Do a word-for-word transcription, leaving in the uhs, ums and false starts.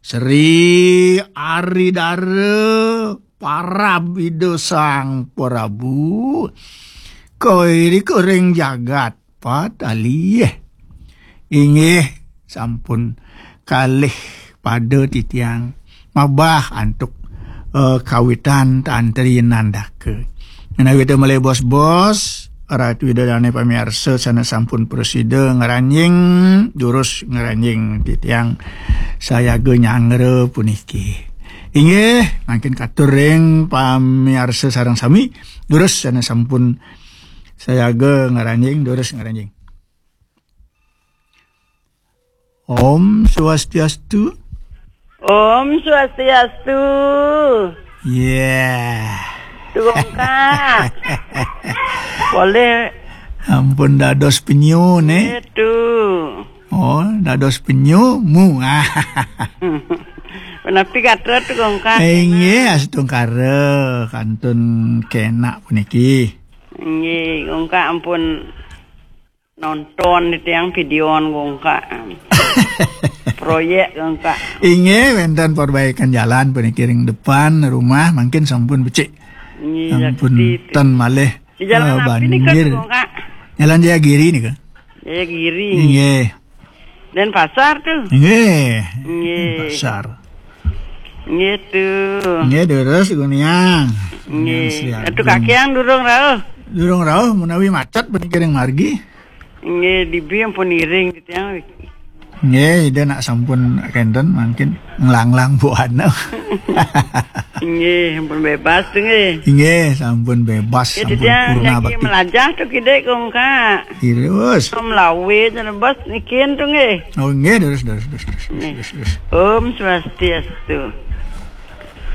Sri Aridara parab Ida Sang Prabu, kairika ring jagat patalih. Inggih, sampun kalih pada titiang mabah antuk, eh, kawitan tantri nandaka. Menawi malih bos-bos, Ratu Ida Dane pamiarsa sane sampun prasida ngranjing, durus ngranjing titiang sayaga nyanggra puniki. Inggih, mangkin katur ring pamiarsa sareng sami, durus sane sampun sayaga ngranjing, durus ngranjing. Om Swastiastu. Om Swastiastu. Yeah. Tu Gongkak. Boleh. Ampun dados penyu, ne? Itu. Oh, dados penyu, mu. Menapi kata tu Gongkak? Eh, inggih, astungkara kantun kenak puniki. Inggih, Gongkak ampun nonton di tiang video Gongkak. Proyek Gongkak. Inggih, wenten perbaikan jalan puniki ring depan rumah, mungkin sampun becik. Inggih, sampun ten malih. Di jalan eh, api nika, banjir. Gongkak? Jalan Jayagiri nika. Jayagiri. Inggih. Denpasar tu. Inggih. Inggih. Pasar. Inggih tu. Inggih, durus guniang. Inggih. Sri Agung. Atu kakiang durung rauh. Durung rauh menawi macet puniki ring margi. Inggih, dibi ampun iring gitu ya. Nggih, Ida nak sampun kenten mangkin nglanglang buana. Nggih, ampun bebas tu nggih. Nggih, sampun bebas, nggih, sampun titiang purna jagi bakti. Melajah tu kidik Gongkak. Terus. Om lawe jan bos nikin tu nggih. Oh, nggih, terus, terus, terus, terus, nggih. Terus, terus. Om Swastiastu.